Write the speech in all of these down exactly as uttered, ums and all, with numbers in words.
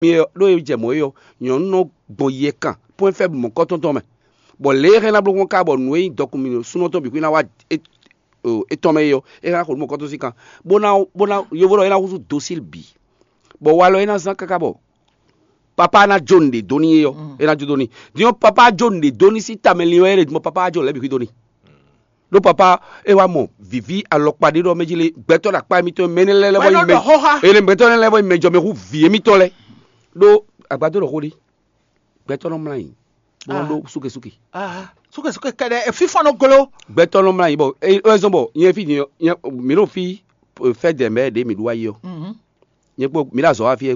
mi ɔ́, ɖó e jɛ mɔ̌ é ɔ́, nyɔ̌nu nɔ gbɔn yɛ kan pɔ́n fɛ́ mɔ̌kɔ́tɔn tɔn mɛ, bɔ lě e hɛn ná bló gbɔn ká bɔ nǔ e nyí dɔkun mì súnɔ tɔn bǐ xwí ná wá étɔn mɛ é ɔ́, é hɛn ná xo nǔ mɔ̌kɔ́tɔn sín kan, bó ná bó ná yovo ɖɔ é ná húzú dosíl bǐ, bɔ walɔ é ná zán káká bɔ papa ná jó nǔɖé dó n'i é ɔ́, é ná jó dó n'i. Din ɔ́, papa jó nǔɖé dó n'i sín tamɛ lin wɛ é ɖe din bɔ papa wá jó nǔ lɛ́ɛ bǐ xwí dó n'i. Ɖó papa é wá mɔ vǐví alɔkpa ɖé ɖɔ mɛ jí lé, gbɛtɔ́ ɖo akpá émítɔn mɛ énɛ́ lɛ́ɛ lɛ́ vɔ nyí mɛ énɛ́ lɛ́ɛ vɔ nyí mɛjɔmɛhú vǐ émítɔn lɛ́ɛ. Ɖó agbadó ɖɔ xó ɖé, gbɛtɔ́ nɔ mlá nyi bó nɔ ɖó súkesúke. Súkesúke kɛɖɛ fífɔ́n nɔ glo. Gbɛtɔ́ nɔ mlá nyi bɔ é wɛ zɔ́n bɔ nyɛ fí din mǐ ɖo fí fɛ́ dɛ mɛ ɖě mǐ ɖu wá yi ɔ́. Nyɛ kpó mǐ ɖo azɔ̌ wá fí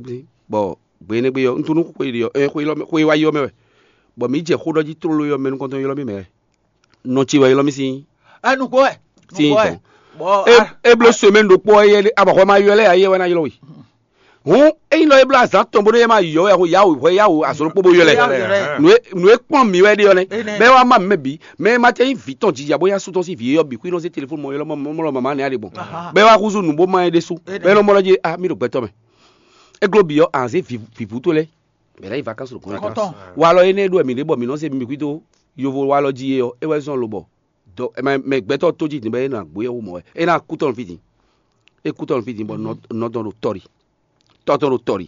bɔ gbe énɛ́ gbe ɔ́, un tunú xwe ɖi ɔ́, xwe élɔ́ mɛ xwe wá yi ɔ́ mɛ wɛ, bɔ mǐ jɛ xó ɖɔ jí tlóló ɔ́ mɛ nukɔntɔn ylɔ́ mì mɛ wɛ. Nɔ ce wɛ ylɔ́ mì sín. Ɛ nukpó wɛ. Sín tɔn. É bló semɛ́ni ɖokpó ɔ́, abɔxɔ ma ylɔ́ lɛ́ ayé wɛ ná ylɔ́ we. Hǔn ényí nɔ é bló azǎn tɔn bónú é ma yɔ wɛ xo yawu hwɛ yawu azɔn ɖokpó bó ylɔ́ ɛ. Nǔ e kpɔ́n mǐ wɛ ɖe ɔ́ nɛ́. Bɛ́ wá má mǐ mɛ bǐ, mɛ e ma tɛ́ nyí vǐ tɔn jija bó nyí asú tɔn sín vǐ é ɔ́ bǐ xwí nɔ zé telefɔ́n mɔ ylɔ́ mɔ mɔ mama nɛ́ ɖe gbɔn. Bɛ́ wá húzú nǔ bó má ɛ ɖésú. Bɛ́ nɔ mɔ ɖɔ jí a mì ɖo gbɛtɔ́ mɛ. É gló bǐ ɔ́, a nǎ zé vǐvú towe lɛ́ɛ bɛ ná yi vakansu ɖo kɔn. Walɔ énɛ́ ɖo wɛ mǐ ɖe bɔ mǐ nɔ zé mi xwí dó yovo walɔ jí é ɔ́, é wɛ zɔ́n lobɔ mɛ gbɛtɔ́ tó jí din bɔ é nɔ agbó yɛ wú mɔ̌ wɛ. É ná kú tɔn fí din. É kú tɔn fí din bɔ nɔ tɔn ɖo tɔ́ ɖi. Tɔ́ tɔn ɖo tɔ́ ɖi.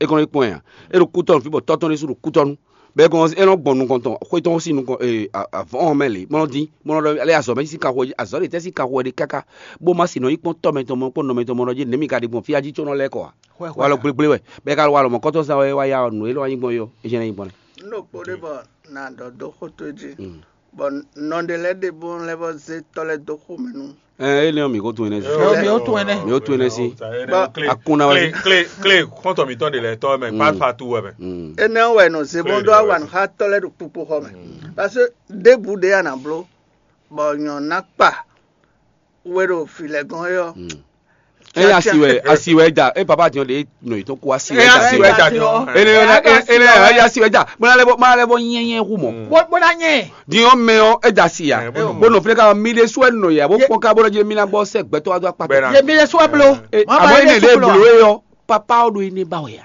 É kɔn nɔ yi kpɔ́n ɛ ǎ. É ɖo kú tɔn fí bɔ tɔ́ tɔn ɖésú ɖo kú tɔn nu. Bɔ é kɔn é nɔ gbɔn nukɔn tɔn xwé tɔn sín nukɔn avɔ̌ mɛ lě mɔ nɔ dín mɔ nɔ ɖɔ alɛ azɔ̌ mɛ sín kanxɔ azɔ̌ ɖe tɛ́ sín kanxɔ ɖe káká bó má sin nɔ yi kpɔ́n tɔ́ mɛ tɔn mɔ kpɔ́n nɔ mɛ tɔn mɔ nɔ jí nɛ̌ mi ka ɖe gbɔn fí ají có nɔ lɛ́ kɔ ǎ. Walɔ gblégblé wɛ bɔ é ka ɖo walɔ mɔ̌kɔtɔn zán wɛ wá ya nǔ e lɔ wá nyí gbɔn é ɔ́, é jɛ́n ná nyí gbɔn nɛ́. Un ɖo kpo ɖé bɔ nǎ ɖɔ dó xó towe jí, bɔ nɔ ɖé lɛ́ɛ ɖe bó lɛ́ vɔ zé tɔ́ lɛ́ɛ dó xomɛ nú. Ɛ énɛ́ ɔ́, mǐ ko tunwun énɛ́ sí. Ɔ, mǐ ko tunwun énɛ́. Mǐ ko tunwun énɛ́ sí. Akún ná wá. Klé klé klé xɔ́ntɔn mǐtɔn ɖě lɛ́ɛ tɔ́ mɛ pálpatu wɛ mɛ. Énɛ́ ɔ́ wɛ nɔ zé bó ɖó awa nǔ xá tɔ́ lɛ́ɛ ɖo kpukpo xɔ mɛ. Parce que ɖěbǔ ɖě a nǎ bló bɔ nyɔ̌nu ná kpa we ɖo vǐ lɛ́ɛ gɔ́n é ɔ́. Eye asi wɛ asi wɛ da e papa diɔn de nɔ yi tɔn ko asi wɛ da si wɛ da diɔn. Ene ene eye asi wɛ da mana lɛ bɔ mana lɛ bɔ nyɛnyɛ hu mɔ. Bó bó ná nyɛ. Diɔn mɛ ɔ e da si ya. Bó nɔ fúnɛ ka mi de su ɛ nɔ ya bó kpɔn ka bó lɔ dzi mi na gbɔ sɛ gbɛtɔ wa do akpata. Ye mi de su ɛ blo. Amɔ ene de blo ye ɔ papa ɔ do ene ba wɛ ya.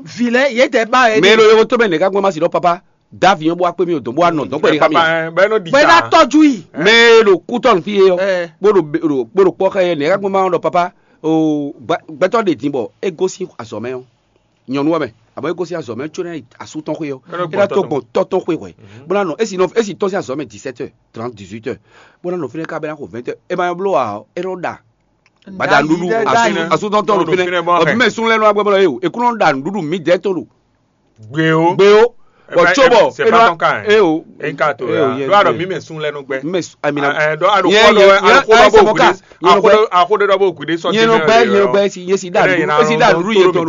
Vi lɛ ye tɛ ba yɛ. Mɛ lo yɔrɔ to mɛ ne ka gbɔn ma si dɔ papa. Davi yɔn bó wá kpé mi o dɔn bó wá nɔ dɔn kpɛ́ ní xá mi. Bɛ́ nɔ di bɛ́ ná sa. Tɔjú yìí. Mɛ e ɖo kútɔ́ nǔ fí é ɔ́, Ɛ. Bó ɖo be- ɖo- bó ɖo kpɔ́ xá yɛ nɛ̌ ká gbɔn ma ɖɔ papa o gba- gbɛtɔ́ ɖe din bɔ é gosín azɔ̌ mɛ ɔ́, nyɔ̌nu ɔ́ mɛ, abɔ é gosín azɔ̌ mɛ có ná yi asú tɔn xwé ɔ́, Bɛ́ nɔ é ná gbɔn tó tɔ́ tɔn. Gbɔn tɔ́ tɔn xwé hwɛ, bó ná nɔ é si nɔ é si tɔ́n sín azɔ̌ mɛ dix-sept heures trente dix-huit heures, bó ná nɔ fínɛ́ ká bɛ́ ná xo vingt heures. É ma bló ǎ, é nɔ ɖa. Bada nuɖuɖu asu- asutɔntɔ ɖo fínɛ. Ɔ, mɛ sun lɛ nɔ agbɛ bɔ ye o, ekun nɔ ɖa nuɖuɖu mi dɛ to ɖo. Gbe o. Gbe o. Bɔ tso bɔ c'est pas ton cas, hein. E o. E ka to ya. Do alo mi mɛ sun lɛ no gbɛ. Mi mɛ amina. Ɛ dɔ alo kɔ dɔ alo kɔ dɔ bo gbe. Ako dɔ ako dɔ bo gbe sɔ. Yɛn no gbɛ yɛn no gbɛ si yesi da nuɖuɖu yɛn tɔ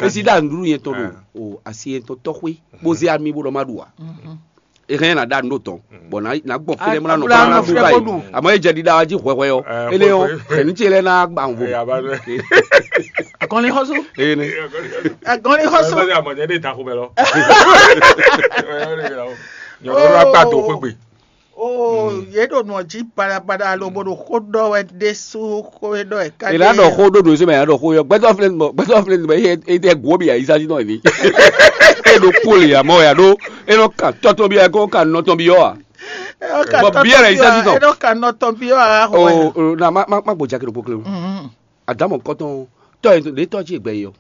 do. Esi da nuɖuɖu yɛn tɔ do. O asi yɛn tɔ tɔxwe. Bo ze ami bo dɔ ma ɖu wa. Ehɛn na ɖa nǔ ɖo tɔn bɔ na gbɔ fɛnɛ mɔ na nɔ kɔ na ɖu ka yi. Amɔ e jɛ ɖiɖa wa jí hwɛhwɛ ɔ. Ele ɔ xɛnu ce lɛ na gba nvo. Akɔni xɔsu. Ene. Akɔni xɔsu. Ɛsɛ amɔ jɛ de ta ko bɛ lɔ. Nyɔnu wa gba do xwegbe. O ye ɖo nɔ jí baɖabaɖa alo bo ɖo xó ɖɔ wɛ ɖésú xó e ɖɔ ɛ ká. Ela ɖɔ xó ɖo ɖo sɛmɛ ya ɖɔ xó yɔ gbɛtɔ filɛ nɔ gbɛtɔ filɛ nɔ e tɛ gwo bi ayi sasi nɔ ni. E ɖo kpó le amɔ ya ɖo e nɔ kan tɔtɔ bi ya ko kan nɔtɔ bi yɔ wa. Bɔ biɛ lɛ yi sasi tɔ. E nɔ kan nɔtɔ bi yɔ wa xɔ wɛ. O na ma ma ma gbɔ jaki ɖo kpokle o. Adamu kɔtɔn tɔ ye ɖe tɔ tsi gbɛ yi o.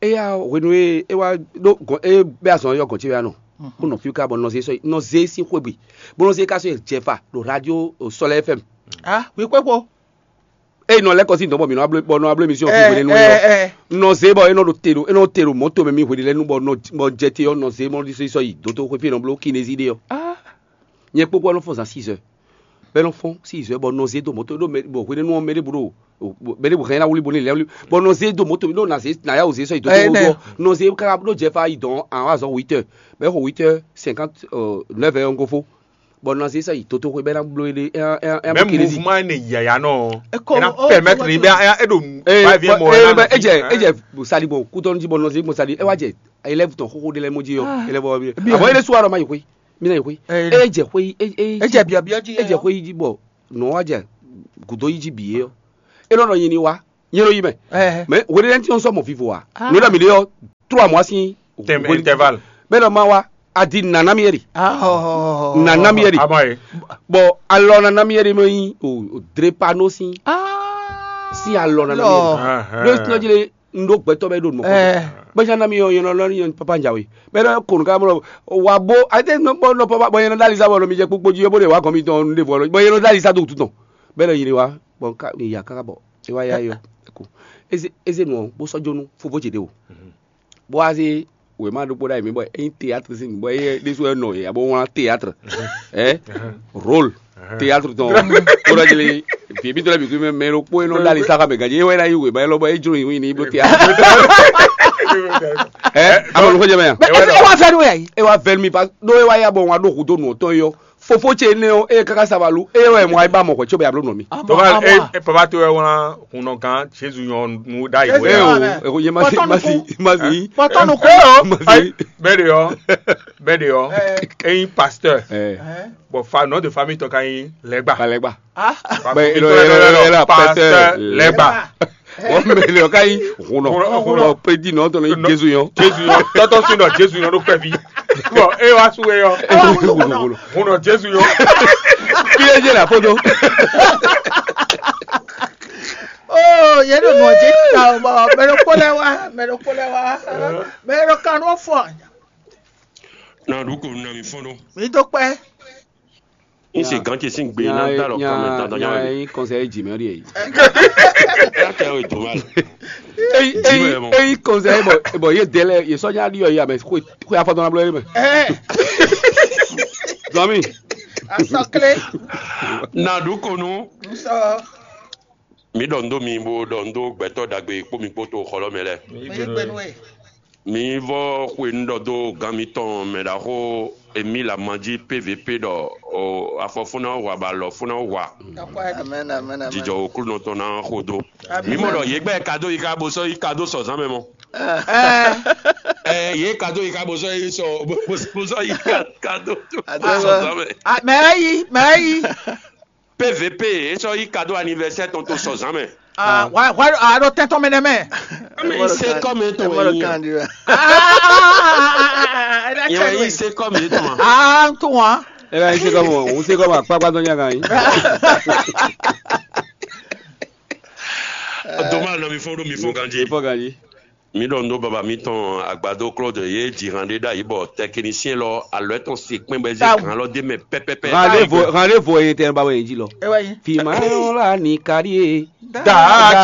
Eya hwenu e e wa ɖo gɔn e bɛ azɔn yɔ gɔn tsi ya nɔ. Ko nɔ fi ka bɔ nɔ ze sɔ nɔ ze si xwegbe. Bɔ nɔ ze ka sɔ jɛfa ɖo radio Sɔlɛ F M. Ah, wi kpekpo. Eye nɔ lɛ́ kɔ sín dɔn bɔ mǐ nɔ bɔ nɔ ablo émission fi hwenu nɔ yɔ. Nɔ zé bɔ e nɔ ɖo te ɖo e nɔ te ɖo mɔto mɛ mi hwenu lɛ nu bɔ nɔ bɔ jɛ te ɔ nɔ zé mɔ ɖi sɔ yi doto xwe fi nɔ blo kinezi ɖe ɔ. Nyɛ kpokpo nɔ fɔn zan six heures. Bɛ nɔ fɔn six heures bɔ nɔ zé do mɔto ɖo mɛ bɔ hwenu nɔ mɛ ɖe bu ɖo mɛ ɖe bu hɛn na wuli bo ne lɛ wuli bɔ nɔ zé do mɔto mi ɖo na zé na ya o zé sɔ yi doto xwe bɔ nɔ zé kaka ɖo jɛ fa yi dɔn an wa zɔn huit heures bɛ xɔ huit heures cinquante neuf heures ɔngofo. Bɔ nɔ se sɔ yi toto xwe bɛ na blo ele ɛ ɛ ɛ Même mouvement ne yaya nɔ. Eko ena o permettre ni bɛ ɛ e do. Ee va vie mo bɔ ena e jɛ e jɛ sali bɔ kutɔnu ji bɔ nɔ se mo sali e wa jɛ élève tɔn xoxo de lɛ mo ji yɔ élève wɔ bi. Abɔ ele suwa dɔ ma yi xwe mi na yi xwe e jɛ xwe e e e jɛ biɔbiɔ ji e jɛ xwe yi ji bɔ nɔ wa jɛ gudo yi ji bi ye yɔ e nɔ nɔ yin ni wa. Nyɛ nɔ yi mɛ. Mɛ hweɖéɖéntin ɔ́ sɔ́ mɔ vivo a? Nǔ ɖɔ mǐ ɖe ɔ́, trois mois sín. Tɛm intervalle. Bɛ́ ɖɔ ma wá, a di nǎ ná mì é ɖi. Nǎ ná mì é ɖi. Amɔ ye. Bɔ alɔ ná ná mì é ɖi mɛ nyí o drépano sín. Sín alɔ ná ná mì é ɖi. Ɖó sinɔ jí lé, un ɖó gbɛtɔ́ bɛ ɖo nɔ. Bɛ́ ná mì ɔ́, yɛn nɔ lɔ ní yɛn papa njawe. Bɛ́ nɔ konu ká bɔ wa bó, ayé tɛ nɔ bɔ nɔ papa bɔ yɛn nɔ dali sa bɔ nɔ mi jɛ kpokpo jí bó ɖe wa gɔn mi tɔn ɖe vɔ bɔ yɛn nɔ dali sa do tu tɔn. Bɛ́ nɔ yi ɖe wa bɔ nka mi ya káká bɔ e wa ya yɔ. Eko eze eze nɔ bó sɔ́ jónú fofó ce ɖe o. Bó wá zé wěma ɖokpó ɖ'ayǐ mɛ bɔ é nyí théâtre sín nǔ bɔ éyɛ́ ɖésú wɛ nɔ yě abo wlán théâtre. Ɛ rôle théâtre tɔn. Kódɔ jeli vǐ bí tɔlɛ bǐ kú mɛ mɛ ɖokpó e nɔ ɖo ali sáxa mɛ ganji é wɛ ná yí wěma élɔ́ bɔ é jló yǐ ní bó théâtre. Ɛ amɔ nukɔ jɛ mɛ yan. É wá fẹ́ nú yà yìí. É wá vɛ́ nú mi pa ɖó é wá yá bɔ wọn ɖó hudó nǔ tɔn yɔ. Fofó ce énɛ́ ɔ́, ée káká sa wá lú, éyɛ́ wɛ mɔ ayé ba mɔ hwɛ̌ cóbɔ abló nɔ mì. Papa, e- e- papa towe wɛ wlán hunnɔ gán Jésus nyɔ nú ɖ'ayǐ Jésus wɛ. Eo, eo, yé má sí, má sí, má sí. Pɔtɔ nu kɔ. Eo, Má sí. Ayi, bɛɛ de yɔ, bɛɛ de yɔ, eyin pasteur, bɔn fa nɔ de famille tɔ ka yin lɛgba. Balẹ̀gbà. Fa Bɛ mi ilo tɔ ilo lɛ ilo lɔ, ilo pasteur pasteur lɛgba. Wọ́n mɛ lè ká yí hùnà. Hùnà, hùnà. Bɔ prédi nɔ tɔn ní Jésus yɔn. Jésus yɔn. Tɔtɔ sin nɔ Jésus yɔn ɖo kpɛvi. Bɔn e wa su e yɔ. Hùnà, hùnà. Hùnà Jésus yɔn. Kí lè jẹ́ la foto. Oh, yɛ ɖo nɔ dzi ta o bɔ mɛ ɖo kpó lɛ wá, mɛ ɖo kpó lɛ wá, mɛ ɖo kan nɔ fɔ. Na ɖu ko na mi fɔn ɖo. Mi do kpɛ. N se gǎn ce sín gbe ná dó alɔ kan mɛ dandan nya wɛ. Yín kɔnsɛ yé jì mɛ ɔ́ ɖíe. Yá kɛ wɛ dùn wá. Eyi eyi eyi kɔnsɛ bɔ bɔ yé dɛ lɛ yé sɔ́ nya ɖi ɔ yé amɛ xwe xwe afɔtɔn na blɔ yé mɛ. Zɔmi. Asɔkle. Na ɖu ko nu. Nsɔ. Mi ɖɔ ndo mi bo ɖɔ ndo gbɛtɔ́ ɖagbe kpó mi kpó to xɔlɔ́ mɛ lɛ. Mi gbenu e. Mi vɔ xwe nu ɖɔ dó gán mitɔn mɛ ɖaxó Emile Amanji P V P ɖɔ o afɔ fún ná hwa bɔ alɔ fún ná hwa. Amen, amen, amen. Jijɔ oklunɔ tɔn ná xo dó. Amen. Mi mɔ ɖɔ yě gbɛ kado yi ká bo sɔ́ yi kado sɔzán mɛ mɔ. Ɛ ɛ yě kado yi ká bo sɔ́ yi sɔ bo sɔ́ yi kado sɔzán mɛ. Mɛ yi mɛ yi. P V P, é sɔ́ yí cadeau anniversaire tɔn to sɔzán mɛ. Ah, why why ah ɖo tɛntɔn mɛ nɛ mɛ. Kɔmi se kɔmi to wɛ yi. Ah, yɛ wɛ yi se kɔmi to ma. Ah, to wa. Ela yi se kɔmi, o se kɔmi akpakpa dɔn nya kan yi. Doma nɔ mi fɔ ɖo mi fɔ ganji. Fɔ ganji. Mi ɖɔ nǔ ɖó baba mitɔn Agbadó Claude yě ji han ɖé ɖ'ayǐ bɔ tɛkinisiyɛn lɔ alɔ tɔn se kpɛn bɔ é zé han lɔ d'é mɛ pɛpɛpɛ. Han ɖé vo han ɖé vo e tɛn ba wɛ yě ji lɔ. Fi ma lɔ la ni ka ɖi e. Daa ce